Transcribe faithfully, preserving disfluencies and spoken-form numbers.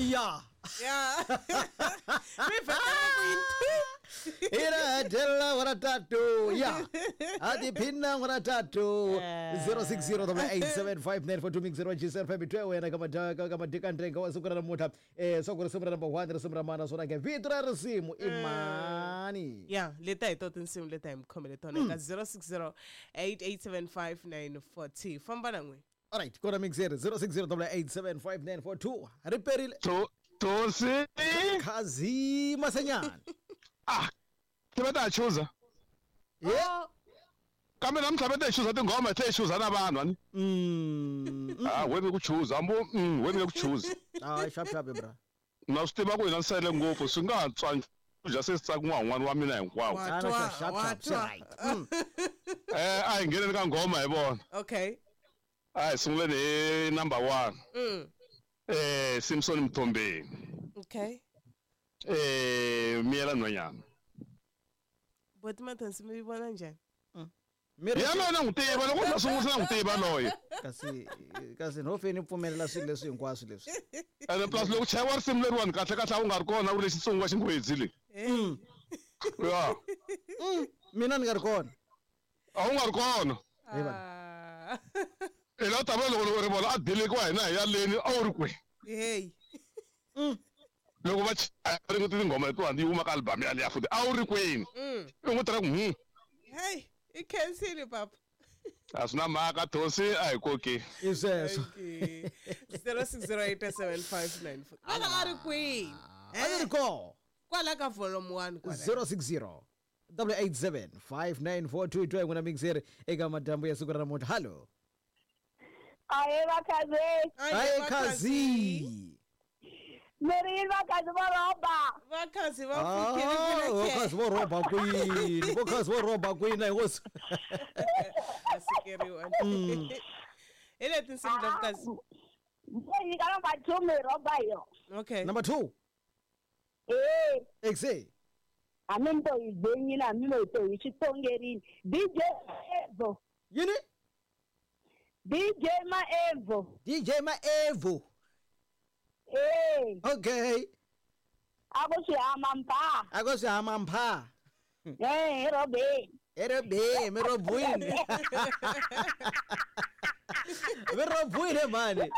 Ya. Ya. Mi vheta ku yini? Ira dela wara tatu. Ya. Adi pinna wara tatu. zero six zero eight seven five nine four two mix zero G seven five two wena ka madaka ka madika ndrenga wa siku ra namuntlha. Eh swa ku risimu ra number one risimu ra mana swona ke vito ra risimu i mani. Ya, leta hi to tinsimu leta hi mi khomele tona eka zero six zero eight eight seven five nine four two. Famba na n'we. All right, kona mix zero six zero eight seven five nine four two. Riperile. To Tosi Kazi Masenyana. Ah, ke batla choose. Yeah. Kambe namuntlha va ta choose tinghoma te choose na vanhu ani. Mm. Ah, wena ku choose, ambo mm, wena ku choose. Ah, sharp sharp bra. Na swi tiva ku hina sele ngopfu swi nga tswa ja se tsaka n'wana wa mina hinkwawo. Ah, sharp sharp right. Eh, a hi ngheneni ka nghoma hi vona. Okay. A hi sunguleni hi number one. Mm. Eh, Simpson Mthombeni. Okay. Eh, Miyela Nhwanyana. Boti Mathonsi mi vona njhani? Ya mina n'wi tiva loko na sungula n'wi tiva loyi. Kasi kasi no feni pfumelela swilo leswi hinkwaswo leswi. Ene plus loko chayiwa risimu leriwani kahle kahle a wu nga ri kona u ri Xitsonga xinghwedzi le. Mm. Ya. Mina ni nga ri kona. A wu nga ri kona. Ah. I la ta vona loko ri vona a delekiwa hina hi yaleni a wu ri kwihi. Hey. Mm. Loko va ri tinghoma letiwani yi huma ka album yaliya futhi a wu ri kwini. I n'wi tirha ku hmm. Hey, i khensile papa. A swi na mhaka Thosi a hi koki. I sweswo. zero six zero eight seven five nine four. Kwala a ri kwihi? A ri kona. Kwala ka volume one kwala. zero six zero eight seven five nine four two two n'wina mixer eka madyambu ya siku ra namuntlha. Hallo. Aye vakhazi. Aye khazi. Meri vakhazi va roba. Vakhazi va pfukile ku vakhazi vo roba kwini? Vakhazi vo roba kwini hosi? A sikeriwa. Hi le tinsimu ta vakhazi. Yi ka number two mi roba yo. Okay. Number two. Eh. Exe. A mi to yi gbenyile mi mo to yi xitongerini. D J Evo. Yini? D J Maevo. D J Maevo. Eh. Okay. Ako si Amampa. Ako si Amampa. Eh, Robe. Eh, Robe, me robuine. Me robuine mani.